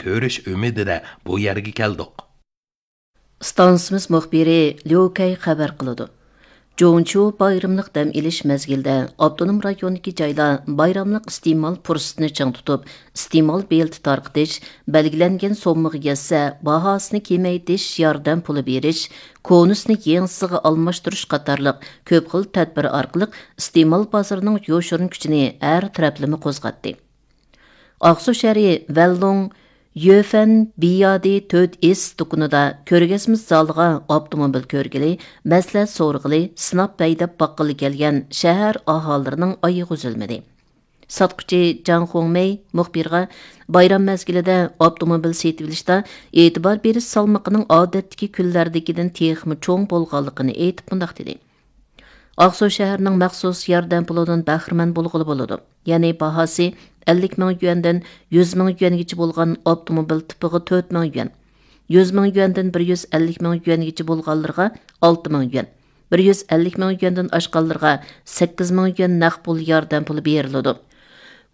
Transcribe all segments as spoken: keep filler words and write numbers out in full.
ئۆرۈش ئۈمىدىدە بۇ يەرگە كەلدۇق. ئىستانسىمىز مۇخبىرى ليۇ كەي خەۋەر قىلىدۇ. جۇڭچۇ بايراملىق دەم ئېلىش مەزگىلىدە ئاپتونوم رايوندىكى جايلار بايراملىق ئىستېمال پۇرسىتىنى چىڭ تۇتۇپ، ئىستېمال بېلىتى تارقىتىش، بەلگىلەنگەن سوممىغا يەتسە، باھاسىنى كېمەيتىش ياردەم پۇلى بېرىش، كونىسىنى يېڭىسىغا ئالماشتۇرۇش قاتارلىق كۆپ خىل تەدبىر ئارقىلىق ئىستېمال بازىرىنىڭ يوشۇرۇن كۈچىنى ھەر تەرەپلىمە قوزغاتتى. ئاقسۇ شەھىرى ۋەنلۇڭ يۆفەن بىيادى تۆت ئېس دۇكىنىدا كۆرگەزمە زالىغا ئاپتوموبىل كۆرگىلى، مەسلىھەت سورىغىلى، سىناپ ھەيدەپ باققىلى كەلگەن شەھەر ئاھالىلىرىنىڭ ئايىغى ئۈزۈلمىدى. ساتقۇچى جاڭ خۇڭمەي مۇخبىرغا بايرام مەزگىلىدە ئاپتوموبىل سېتىۋېلىشتا ئېتىبار بېرىش سالمىقىنىڭ ئادەتتىكى كۈنلەردىكىدىن تېخىمۇ چوڭ بولغانلىقىنى ئېيتىپ مۇنداق دېدى. ئاقسۇ شەھىرىنىڭ مەخسۇس ياردەم پۇلىدىن بەھرىمەن بولغىلى بولىدۇ. يەنى باھاسى ئەللىك مىڭ يۈەندىن يۈز مىڭ يۈەنگىچە بولغان ئاپتوموبىل تىپىغا تۆت مىڭ يۈەن، يۈز مىڭ يۈەندىن بىر يۈز ئەللىك مىڭ يۈەنگىچە بولغانلىرىغا ئالتە مىڭ يۈەن، بىر يۈز ئەللىك مىڭ يۈەندىن ئاشقانلىرىغا سەككىز مىڭ يۈەن نەق پۇل ياردەم پۇلى بېرىلىدۇ.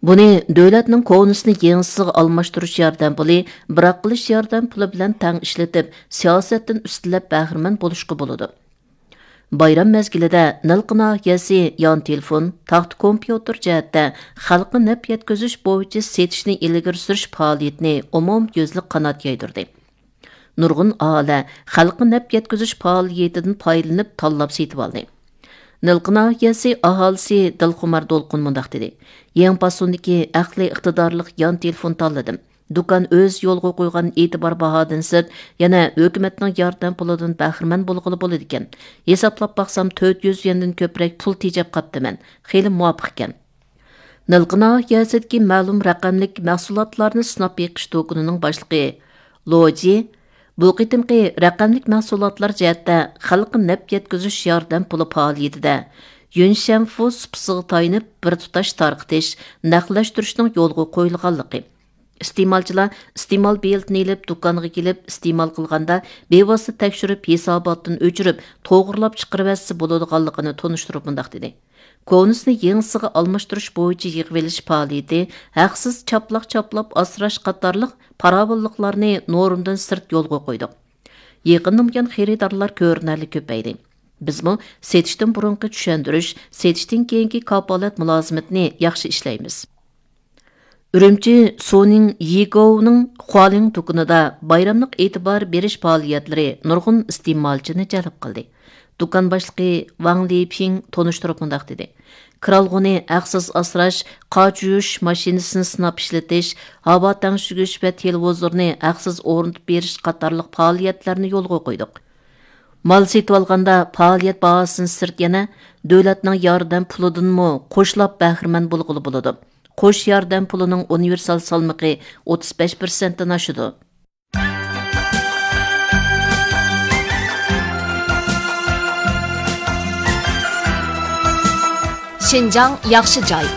بۇنى دۆلەتنىڭ كونىسىنى يېڭىسىغا ئالماشتۇرۇش ياردەم پۇلى، بىراق قىلىش ياردەم پۇلى بىلەن تەڭ ئىشلىتىپ، سىياسەتتىن ئۈستىلەپ بەھرىمەن بولۇشقا بولىدۇ. بايرام مەزگىلىدە نىلقا ناھىيەسى يان تېلېفون، تاختا كومپيۇتېر جەھەتتە خەلققە نەپ يەتكۈزۈش بويىچە سېتىشنى ئىلگىرى سۈرۈش پائالىيىتىنى ئومۇميۈزلۈك قانات يايدۇردى. نۇرغۇن ئاھالە خەلققە نەپ يەتكۈزۈش پائالىيىتىدىن پايدىلىنىپ تاللاپ سېتىۋالدى. نىلقا ناھىيەسى ئاھالىسى دىلخۇمار دولقۇن مۇنداق دېدى: يېڭى پاسوندىكى ئەقلىي ئىقتىدارلىق يان تېلېفون تاللىدىم. دۇكان ئۆز يولغا قويغان ئېتىبار باھادىن سىرت، يەنە ھۆكۈمەتنىڭ ياردەم پۇلىدىن بەھرىمەن بولغىلى بولىدىكەن. ھېسابلاپ باقسام، تۆت يۈز يۈەندىن كۆپرەك پۇل تېجەپ قاپتىمەن. خېلى مۇۋاپىقكەن. نىلقا ناھىيەسىدىكى مەلۇم رەقەملىك مەھسۇلاتلارنى سىناپ بېقىش دۇكىنىنىڭ باشلىقى لو جى بۇ قېتىمقى رەقەملىك مەھسۇلاتلار جەھەتتە خەلققە نەپ يەتكۈزۈش ياردەم پۇلى پائالىيىتىدە يۈنشەنفۇ سۇپىسىغا تايىنىپ بىر تۇتاش تارقىتىش، نەقلەشتۈرۈشنىڭ يولغا قويۇلغانلىقى، ئىستېمالچىلار ئىستېمال بېلىتىنى ئېلىپ، دۇكانغا كېلىپ ئىستېمال قىلغاندا، بىۋاسىتە تەكشۈرۈپ، ھېساباتتىن ئۆچۈرۈپ، توغرىلاپ چىقىرىۋەتسە بولىدىغانلىقىنى تونۇشتۇرۇپ مۇنداق دېدى: كونىسىنى يېڭىسىغا ئالماشتۇرۇش بويىچە يىغىۋېلىش پائالىيىتى، ھەقسىز چاپلاق چاپلاپ ئاسراش قاتارلىق پاراۋانلىقلارنى نورمىدىن سىرت يولغا قويدۇق. يېقىندىن بۇيان خېرىدارلار كۆرۈنەرلىك كۆپەيدى. بىزمۇ سېتىشتىن بۇرۇنقى چۈشەندۈرۈش، سېتىشتىن كېيىنكى كاپالەت مۇلازىمىتىنى ياخشى ئىشلەيمىز. ئۈرۈمچى سۇنىڭ يىگوۋنىڭ خۇالىڭ دۇكىنىدا بايراملىق ئېتىبار بېرىش پائالىيەتلىرى نۇرغۇن ئىستېمالچىنى جەلپ قىلدى. دۇكان باشلىقى ۋاڭ لىپىڭ تونۇشتۇرۇپ مۇنداق دېدى: كىرئالغۇنى ھەقسىز ئاسراش، قاچ يۇيۇش ماشىنىسىنى سىناپ ئىشلىتىش، ھاۋا تەڭشىگۈچ ۋە تېلېۋىزورنى ھەقسىز ئورنىتىپ بېرىش قاتارلىق پائالىيەتلەرنى يولغا قويدۇق. مال سېتىۋالغاندا پائالىيەت باھاسىدىن سىرت يەنە دۆلەتنىڭ ياردەم پۇلىدىنمۇ قوشلاپ بەھرىمەن بولغىلى بولىدۇ. قوش ياردەم پۇلىنىڭ ئۇنىۋېرسال سالمىقى ئوتتۇز بەش پىرسەنتتىن ئاشىدۇ. شىنجاڭ ياخشى جاي.